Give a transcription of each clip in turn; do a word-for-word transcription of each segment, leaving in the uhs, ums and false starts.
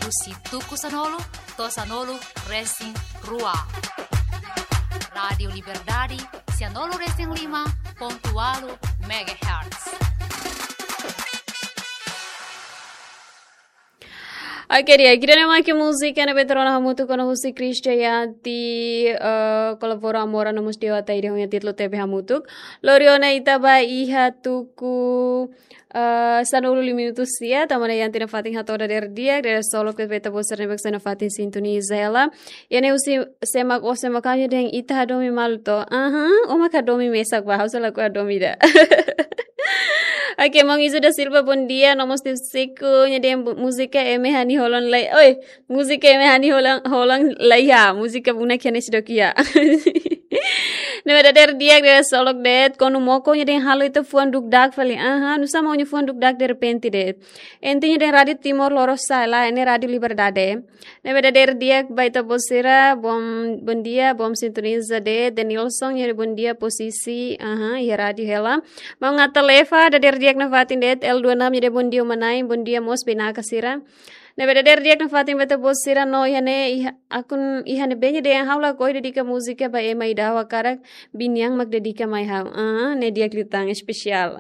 husi tuku sanulu to'o sanulu resin rua. Rádiu Liberdade, sanulu resin lima pontu ualu megahertz. Oke, di'ak, ida-ne'e mak múzika ne'ebé rona hamutuk ona husi Krisdayanti, eh, kolabora Amora no mós Dewa Taide ho nia títulu T V Hamutuk. Lori ona ita ba iha tuku, eh, sanulu lima minutu sia, tanba ne'e Yanti nafatin hato'o dadeer di'ak, dadeer solok ne'ebé ita-boot sira ne'ebé nafatin sintoniza hela. Iha ne'e husi Semak, ó Semak, ha'u hanoin dehan ita hadomi malu to. Aha, ó mak hadomi mesak ba, ha'u sei lakohi hadomi ida. Oke, maun Izo da Silva, bondia, no mós Tiago Seco, nia dehan bu-, múzika ema ha'u-nia holan lai. Oi, múzika ema ha'u-nia holan, holan laiha, múzika bunak iha ne'e seidauk iha. Ne'ebé dadeer di'ak, dadeer solok de'it, Konu Moko, nia dehan halo ita fuan dukdak fali. Aha, nusá maun nia fuan dukdak derrepente de'it. Entaun nia dehan Rádiu Timor Lorosa'e lae, ne'e Rádiu Liberdade. Ne'ebé dadeer di'ak ba ita-boot sira, bom, bondia, bom sintoniza de'it, Denilson, nia dehan bondia posisi, aha, iha rádiu hela. Maun Ngata Leva, dadeer di'ak nafatin de'it, L dua enam, nia dehan bondia uma-na'in, bondia mós bainaka sira. Ne'ebé dadeer di'ak nafatin ba ita-boot sira no iha ne'e, iha, akun iha ne'ebé nia dehan ha'u lakohi dedika múzika ba ema ida ha'u hakarak, biin nian mak dedika mai ha'u. Ah, ne'e di'ak liután, espesiál.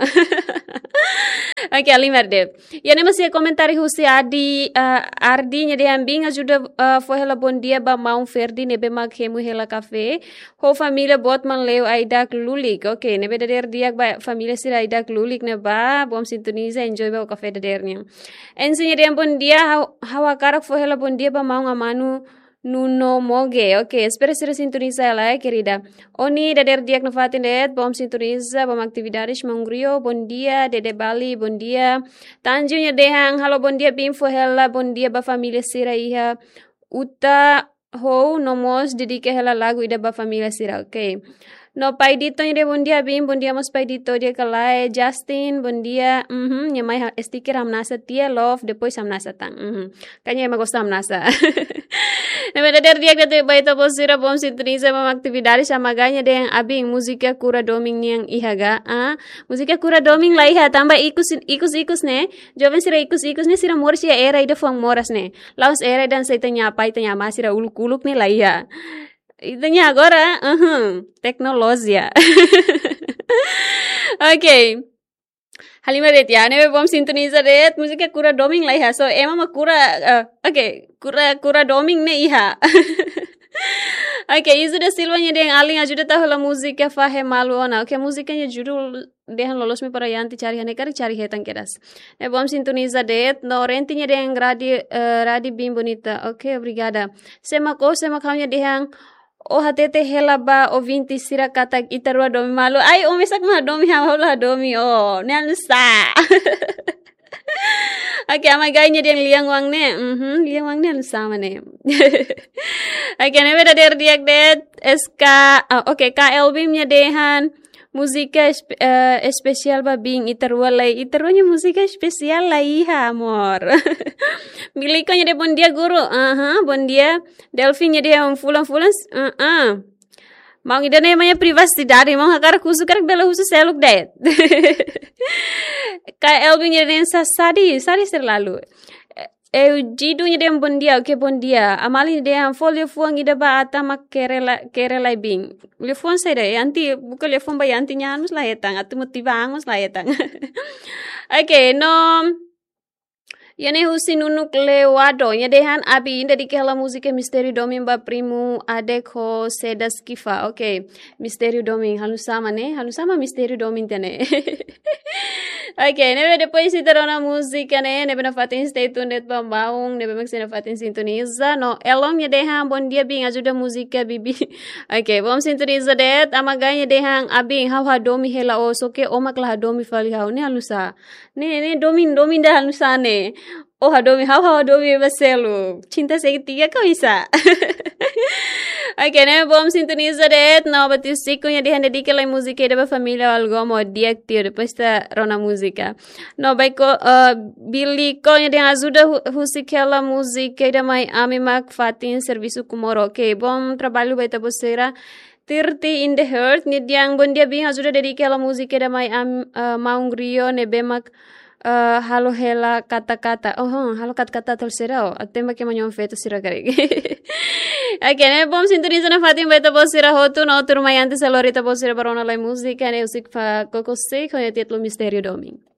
Oke, halimar de'it. Iha ne'e mós iha komentáriu husi Adi, ah, Ardi, nia dehan biin ajuda, ah, fó hela bondia ba maun Ferdi ne'ebé mak hemu hela kafé ho família boot mak la'o ai-da'ak lulik. Oke, ne'ebé dadeer di'ak ba família sira ai-da'ak lulik ne'ebá, bom sintoniza, enjoy ba kafé dadeer nian. Ensi nia dehan bondia, ha'u, ha'u hakarak fó hela bondia ba maun Amanu Nuno Moge. Oke, espera sira sintoniza hela, eh, querida. Oni, dadeer di'ak nafatin de'it, bom sintoniza, bom atividades, maun Rio, bondia, Dede Bali, bondia. Tanju nia dehan, halo bondia biin, fó hela bondia ba família sira iha Uta ho, no mós dedika hela lagu ida ba família sira, oke. No Pai Dito nia dehan bondia biin, bondia mós Pai Dito, di'ak ka lae, Justin, bondia, mhm, nia mai ha-, sticker hamnasa tiha, love, depois hamnasa tan, mhm. Kayaknya ema gosta hamnasa. Ne'ebé dadeer di'ak de'it ba ita-boot sira, bom sintoniza, bom atividades, Amagá nia dehan abin, múzika kura domin nian iha ga, ah, múzika kura domin laiha, tanba ikus, ikus, ikus ne'e, joven sira ikus, ikus ne'e, sira moras iha era ida fuan moras ne'e. La'ós era ida hanesan ita-nia apá, ita-nia amá sira uluk-uluk ne'e laiha. Ita-nia agora, uhum, teknolojia. Oke. Halimar de'it iha ne'e, bom sintoniza de'it, múzika kura domin laiha. So, ema mak kura, eh, oke, kura, kura domin ne'e iha. Oke, Izu da Silva nia dehan alin ajuda tau hela múzika Fahe Malu Ona. Oke, múzika nia judul dehan loloos mai para Yanti cari iha ne'e, karik cari hetan kedas. Ne'e bom sintoniza de'it, no Renti nia dehan Radi, eh, Radi biin bonita. Oke, obrigada. Sema ko, sema kau nia dehan, ó hatete hela ba ouvinte sira katak ita rua domin malu. Ai, ó mesak mak hadomi, ha'u la hadomi, ó. Ne'e hanesan sá. Oke, Amagá nia dehan Lian Wang ne'e. Mhm, Lian Wang ne'e hanesan sá mak ne'e. Oke, ne'ebé dadeer di'ak de'it, S K, ah, oke, K L B nia dehan múzika espe-, eh, espesiál ba biin, ita rua lai, ita rua nia múzika espesiál laiha, amor. Miliko nia dehan bondia guru, aha, bondia. Delfin nia dehan fulan-fulan, s-, ah, ah. Maun ida-ne'e mak nia privasidade, maun hakarak husu, karik bele husu seluk de'it. K L B nia dehan sa-, sadi, sadi selalu. Eugido nia dehan bondia, oke, bondia. Amali nia dehan fó liafuan ida ba Atan mak kere la-, kere lai biin. Liafuan saida, Yanti, buka liafuan ba Yanti nia an mós la hetan, atu motiva an mós la hetan. Oke, no. Iha ne'e husi Nunuk Lewado, nia dehan abin, dedika hela múzika Mistériu Domin ba primu Adek ho Sedas Kifa. Oke, Mistériu Domin, halo hanesan sá mak ne'e, halo hanesan sá mak Mistériu Domin tiha ne'e. Oke, ne'ebé depois ita rona múzika ne'e, ne'ebé nafatin stay tuned de'it ba maun, ne'ebé mak sei nafatin sintoniza. No, Elon nia dehan bondia biin, ajuda múzika bibi. Oke, bom sintoniza de'it, Amagá nia dehan abin, ha'u hadomi hela ó, só ke ó mak la hadomi fali ha'u, ne'e halo hanesan sá. Ne'e, ne'e domin, domin ida halo hanesan sá ne'e. Ó hadomi ha'u, ha'u hadomi ba seluk. Cinta segitiga ka oinsá. Oke, ne'e bom sintoniza de'it, no Batisiko nia dehan dedika lai múzika ida ba família Algomo, di'ak tiha, depois ita rona múzika. No Baiko, eh, Biliko nia dehan ajuda hu-, husik hela múzika ida mai ami mak fatin servisu Comoro. Oke, bom trabalho ba ita-boot sira. Thirty in the Heart nia dehan bondia biin, ajuda dedika hela múzika ida mai am-, eh, maun Rio ne'ebé mak Ah, halo hela kata-kata. Oh, hmm, halo kata-kata tal sira, oh. Até ma ke manhã feto sira karik. Oke, ne'e bom, sintoniza nafatin ba ita-boot sira hotu, no tudo mai antes alori ita-boot sira ba rona lai múzika, ne'e husik fa Koko Sei, ho títulu Mistério Domingo.